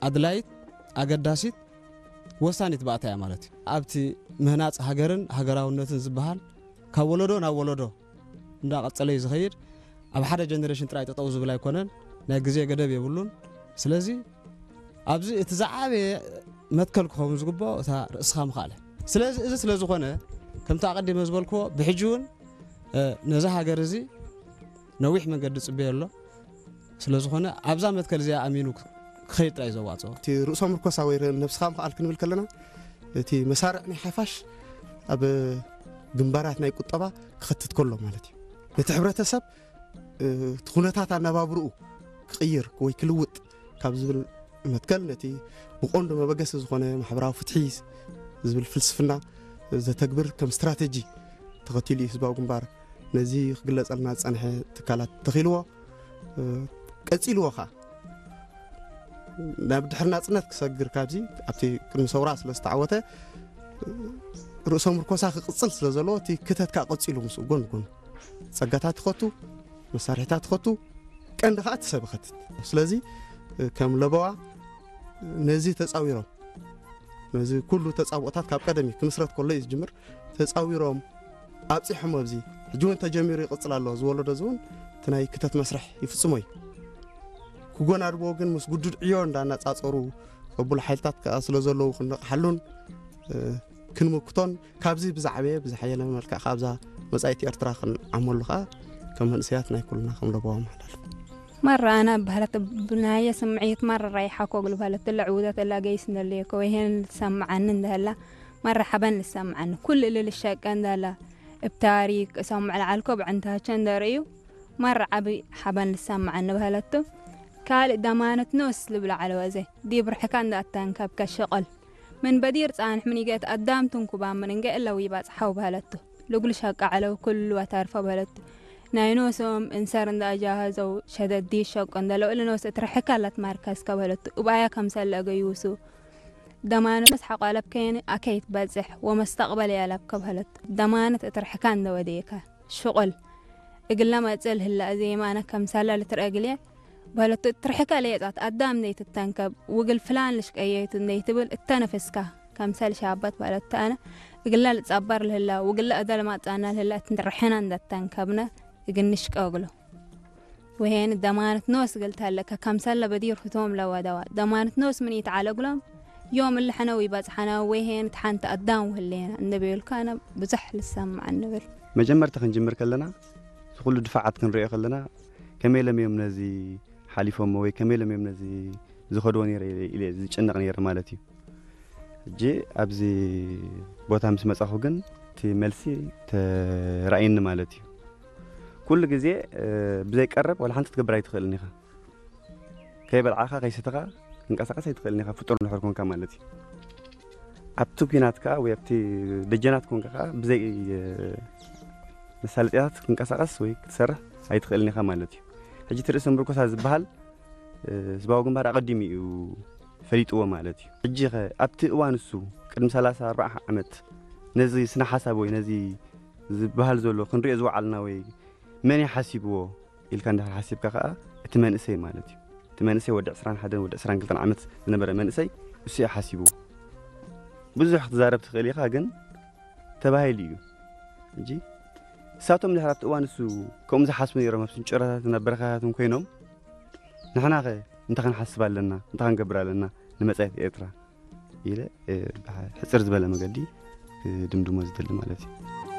ኣድላይት፣ ኣገዳሲት፣ ወሳኒት ባእታ እያ ማለት እዩ። ኣብቲ ምህናፅ ሃገርን ሃገራውነትን ዝበሃል ካብ ወለዶ ናብ ወለዶ እንዳቐፀለ እዩ ዝኸይድ። ኣብ ሓደ ጀነሬሽን ጥራይ ጠጠው ዝብል ኣይኮነን፣ ናይ ግዜ ገደብ የብሉን። ስለዚ ኣብዚ እቲ ዝዓበየ መትከል ክኸውን ዝግብኦ እታ ርእስኻ ምኽኣል። ስለዚ እዚ ስለ ዝኾነ ከምቲ ኣቐዲመ ዝበልክዎ ብሕጂ እውን ነዛ ሃገር እዚ ነዊሕ መንገዲ ጽበዮ ኣሎ። ስለ ዝኾነ ኣብዛ መትከል እዚኣ ኣሚኑ ክኸይድ ጥራይ ዘዋጽኦ። እቲ ርእሶ ምርኮሳ ወይ ነብስኻ ምኽኣል ክንብል ከለና እቲ መሳርዕ ናይ ሓፋሽ ኣብ ግንባራት ናይ ቁጠባ ክኸትት ከሎ ማለት እዩ። ነቲ ሕብረተሰብ እቲ ኩነታት ኣነባብርኡ ክቕይር ወይ ክልውጥ ካብ ዝብል መትከል ነቲ ብቆንዶ መበገሲ ዝኾነ ማሕበራዊ ፍትሒ ዝብል ፍልስፍና ዘተግብር ከም ስትራተጂ ተኸቲሉ እዩ ህዝባዊ ግንባር ነዚ ክግለጸልና ዝጸንሐ ትካላት ተኺልዎ ቀጺልዎ ኸዓ ናብ ድሕሪ ናጽነት ክሰግር ካብዚ ኣብቲ ቅድሚ ሰውራ ስለ ዝተዓወተ ርእሶ ምርኮሳ ክቕጽል ስለ ዘለዎ እቲ ክተት ከዓ ቀጺሉ ምስኡ ጎን ጎን ጸጋታት ትኸቱ መሳርሕታት ትኸቱ ቀንዲ ከዓ እቲ ሰብ ይኸትት። ስለዚ ከም ለበዋ ነዚ ተፃዊሮም ነዚ ኩሉ ተፃብኦታት ካብ ቀደም እዩ ክምስረት ከሎ እዩ ዝጅምር ተፃዊሮም ኣብፂሖም ኣብዚ ሕጂ እውን ተጀሚሩ ይቕፅል ኣሎ ዝወለዶ እዚ እውን እቲ ናይ ክተት መስርሕ ይፍፅሞ እዩ ክጎናድቦ ግን ምስ ግዱድ ዕዮ እንዳናፃፀሩ ቅቡል ሓይልታት ከዓ ስለ ዘለዉ ክንነቕሓሉን ክንምክቶን ካብዚ ብዛዕበየ ብዝሓየለ መልክዕ ካብዛ መፃኢት ኤርትራ ክንዓመሉ ከዓ ከም መንእሰያት ናይ ኩልና ከም ለበዋ መሓላልፍ مرة أنا بهلت بناية سمعيت مرة رايحة كوغل بهلت تلا عودة تلا قيس ندليكو وهين تسمعني ندهلا مرة حبن لسمعني كل اللي للشاك ندهلا بتاريك سمع العالكو بعنتها چن دريو مرة عبي حبن لسمعني بهلتو ካልእ ደማነት ኖስ ልብሎ ዓለወ እዘ ዲብ ርሕካ እንዳእታንከብከ ሽቕል ምን በዲር ጻንሕ ምን ይገት ኣዳም ትንኩባ ምን እንገ እለዊ ባጽሓው በህለቱ ልጉል ሸቃ ዓለው ኩሉ ኣታርፈ በህለቱ ናይ ኖሶም እንሰር እንዳጃሃዘው ሸደዲ ሸቆ እንደለው እልኖስ እትርሕካ ላት ማርከስ ከበህለቱ እባያ ከምሰለ እገዩሱ ደማነት ሐቋለብ ከየን ኣከይት በጽሕ ወመስተቅበል ያለብ ከበህለቱ ደማነት እትርሕካ እንደወደየካ ሽቁል እግለ መጽል ህላ እዜ የማነ ከምሳላ ልትረግልየ በህለቱ እትርሕካ ለየጻት ኣዳም ዘይትተንከብ ውግል ፍላን ልሽቀየቱ እንደይትብል እተነፍስካ ከምሰል ሻበት በህለቱ ኣነ እግላ ልጻበር ልህላ ውግላ እደል ማጻና ልህላ እትንርሕና እንደተንከብነ እግንሽቀ እግሎ ወሄን ደማነት ኖስ ገልታለከ ከምሰለ በዲር ህቶም ለወደዋ ደማነት ኖስ ምን ይተዓለግሎም ዮም እልሐነ ወይበጽሐነ ወሄን ተሓንተ ኣዳም ውህሌና እንደበየልካ ኣነ ብዙሕ ልሰምዕ እንብል። መጀመርታ ክንጅምር ከለና እዚ ኩሉ ድፋዓት ክንሪኦ ከለና ከመይ ኢሎም እዮም ነዚ ሓሊፎሞ ወይ ከመይ ኢሎም እዮም ነዚ ዝኸድዎ ነይረ ኢለ ዝጭነቕ ነይረ ማለት እዩ። ሕጂ ኣብዚ ቦታ ምስ መጻኹ ግን እቲ መልሲ ተራእየኒ ማለት እዩ። ኩሉ ግዜ ብዘይ ቀረብ ዋላ ሓንቲ ክትገብር ኣይትኽእልን ኢኻ። ከይበልዓኻ ከይሰተኻ ክንቀሳቐስ ኣይትኽእልን ኢኻ ፍጡር እንድሕር ኮንካ ማለት እዩ። ኣብቲ ኲናት ከኣ ወይ ኣብቲ ደጀናት ኮንካ ከኣ ብዘይ መሳለጥያታት ክንቀሳቐስ ወይ ክትሰርሕ ኣይትኽእልን ኢኻ ማለት እዩ። ሕጂ እቲ ርእሰ ምርኮሳ ዝበሃል ህዝባዊ ግንባር ኣቐዲሙ እዩ ፈሊጥዎ ማለት እዩ። ሕጂ ኸ ኣብቲ እዋን እሱ ቅድሚ ሰላሳ ኣርባዓ ዓመት ነዚ ስነ ሓሳብ ወይ ነዚ ዝበሃል ዘሎ ክንሪኦ ዝወዓልና ወይ መን እዩ ሓሲብዎ ኢልካ እንድሕር ሓሲብካ ከዓ እቲ መንእሰይ ማለት እዩ። እቲ መንእሰይ ወዲ ዕስራን ሓደን ወዲ ዕስራን ክልተን ዓመት ዝነበረ መንእሰይ እሱ እዩ ሓሲብዎ። ብዙሕ ክትዛረብ ትኽእል ኢኻ፣ ግን ተባሂሉ እዩ። ሕጂ እሳቶም ድሕር ኣብቲ እዋን እሱ ከምኡ ዝሓስቡ ነይሮም፣ ኣብ ስንጭሮታትን ኣብ በረኻታትን ኮይኖም ንሕናኸ እንታይ ክንሓስብ ኣለና፣ እንታይ ክንገብር ኣለና ንመጻኢት ኤርትራ ኢለ ብሕጽር ዝበለ መገዲ ክድምድሞ ዝደሊ ማለት እዩ።